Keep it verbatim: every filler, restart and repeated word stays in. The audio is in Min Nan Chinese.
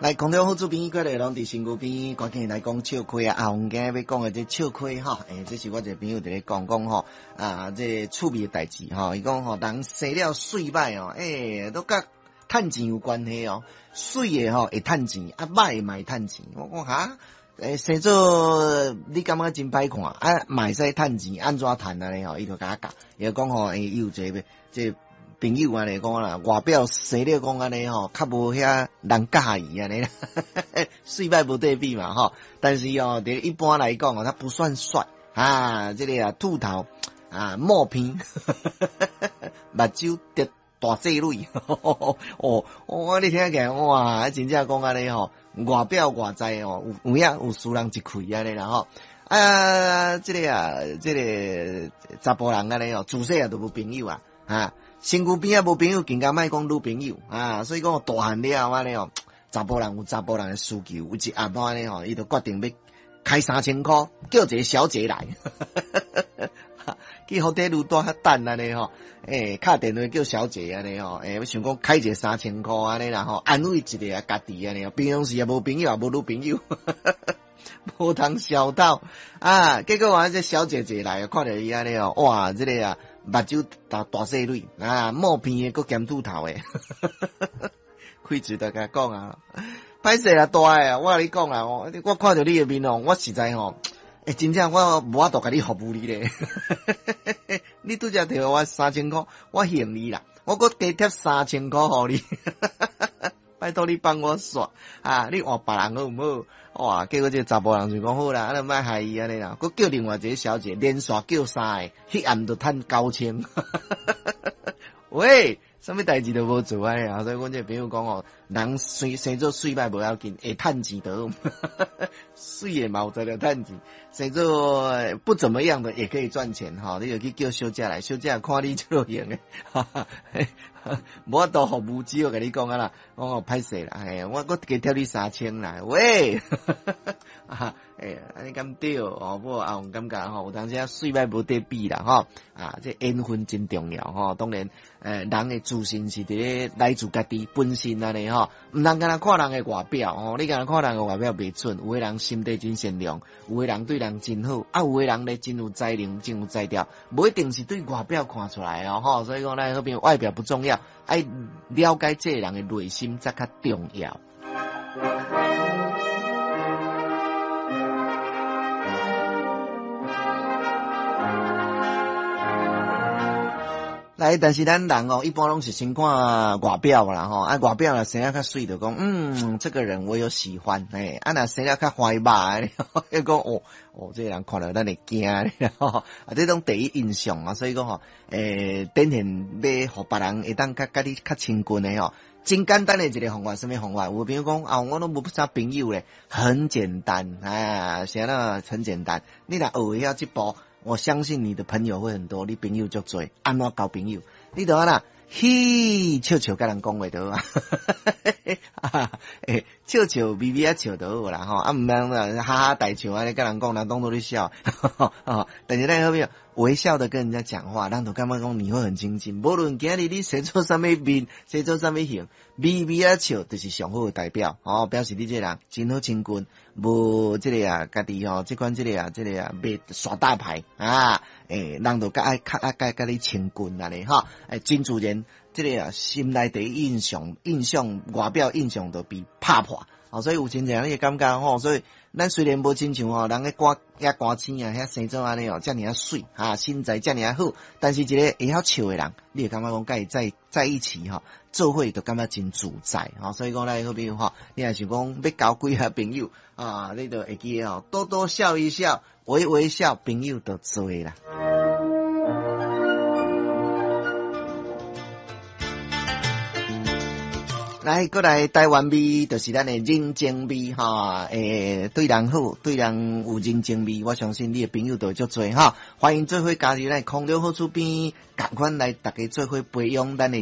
來，空中好主編過來攏佇身軀邊，趕緊來講笑虧啊！阿紅今日欲講的這笑虧吼，欸，這是我一個朋友佇咧講講吼，啊，這趣味的代誌吼，伊講吼，人生了媠歹哦，欸，都佮趁錢有關係哦，媠的吼會趁錢，啊歹的嘛會趁錢。我講哈，欸，生做你感覺真歹看，啊，嘛會使趁錢，按怎趁按呢吼？伊就共我教，伊就講吼，欸，伊有一個這個朋友按呢講啦，外表生了講按呢吼，較無遐人佮意按呢啦，媠歹無得比嘛吼。但是哦，佇一般來講哦，他不算帥啊，這個啊禿頭啊毛鼻，目睭直大細蕊，哦，我你聽起來哇，真正講按呢吼，外表外在哦，有有影有輸人一開按呢啦吼。啊，這個啊，這個查埔人按呢哦，自細漢就無朋友啊，啊。身軀邊仔無朋友，更加莫講女朋友啊！所以講大漢了後按呢哦，查埔人有查埔人的需求，有一暗按呢吼，伊就決定欲開三千箍，叫一個小姐來，去福地路帶遐等按呢吼，欸，敲電話叫小姐按呢吼，欸，想講開一個三千箍按呢啦吼，安慰一下家己按呢，平常時也無朋友，也無女朋友。無通消抖啊！結果啊，這小姐姐來，看著伊按呢哦，哇，這個啊，目睭大大細蕊啊，毛鼻的，閣兼禿頭的，開嘴就共講啊，歹勢啦，大的，我共你講啦，我我看著你的面哦，我實在吼，欸，真正我無法度共你服務你咧。你拄才提我三千箍，我還你啦，我閣加貼三千箍予你。拜託你幫我煞啊！你換別人好毋好？哇！結果這個查埔人就講好啦，啊，你莫害伊按呢啦，閣叫另外一個小姐，連續叫三個，彼暗就趁九千。喂，啥物代誌都無做按呢啊！所以阮這個朋友講哦，人生生做媠歹無要緊，會趁錢就好。媠的嘛有才調趁錢，生做不怎麼樣的也可以賺錢吼。你就去叫小姐來，小姐看你這種型的，哈哈，無法度服務，只好共你講啊啦，講哦歹勢啦，嘿，我閣加貼你三千啦，喂，啊，欸，按呢敢對哦？不過阿紅感覺吼，有當時啊媠歹無得比啦，吼，啊，這緣分真重要吼。當然，欸，人的自信是佇咧來自家己本身按呢吼，毋通干焦看人的外表吼，你干焦看人的外表袂準，有的人心地真善良，有的人對人真好，啊，有的人咧真有才能，真有才調，無一定是對外表看出來哦，吼。所以講咱好朋友外表不重要，愛了解這個人的內心才較重要。來，但是咱人哦，一般攏是先看外表啦吼，啊外表若生得較媠，就講嗯，這個人我有喜歡，欸，啊若生得較壞肉，彼講哦哦，這個人看著咱會驚吼，啊這種第一印象啊，所以講吼，欸，展現欲予別人會當較佮你較親近的吼，真簡單的一個方法，啥物方法？有朋友講啊，我攏無啥朋友咧，很簡單啊，啥啦，很簡單，你若學會曉這步。我相信你的朋友會很多，你朋友足濟，按怎交朋友？你就按怎嘿，笑笑佮人講話就好啊，欸，笑笑微微仔笑就好啦吼，啊毋通哈哈大笑按呢佮人講，人當作咧笑，但是咱好朋友微笑的跟人家講話，人就感覺講你會很親近。無論今日你生做啥物面，生做啥物型，微微仔笑就是上好的代表，吼，表示你這個人真好親近，無這個啊，家己吼，這款這個啊，這個啊，袂耍大牌啊，欸，人就較愛較愛佮你親近按呢吼，欸，真自然，這個啊，心內第一印象，印象外表印象就被拍破，哦，所以有真濟人你會感覺吼，所以咱雖然無親像吼，人咧歌遐歌星啊，遐生做按呢哦，遮爾仔媠，哈，身材遮爾仔好，但是一個會曉笑的人，你會感覺講佮伊在在一起吼，做伙就感覺真自在，吼，所以講咱好朋友吼，你若想講欲交幾个朋友啊，你就會記得吼，多多笑一笑，微微笑，朋友就濟啦。來，過來台灣味，就是咱的人情味哈。欸，對人好，對人有人情味，我相信你的朋友就會足濟哈。歡迎做伙加入咱空中好厝邊，仝款來大家做伙培養咱的。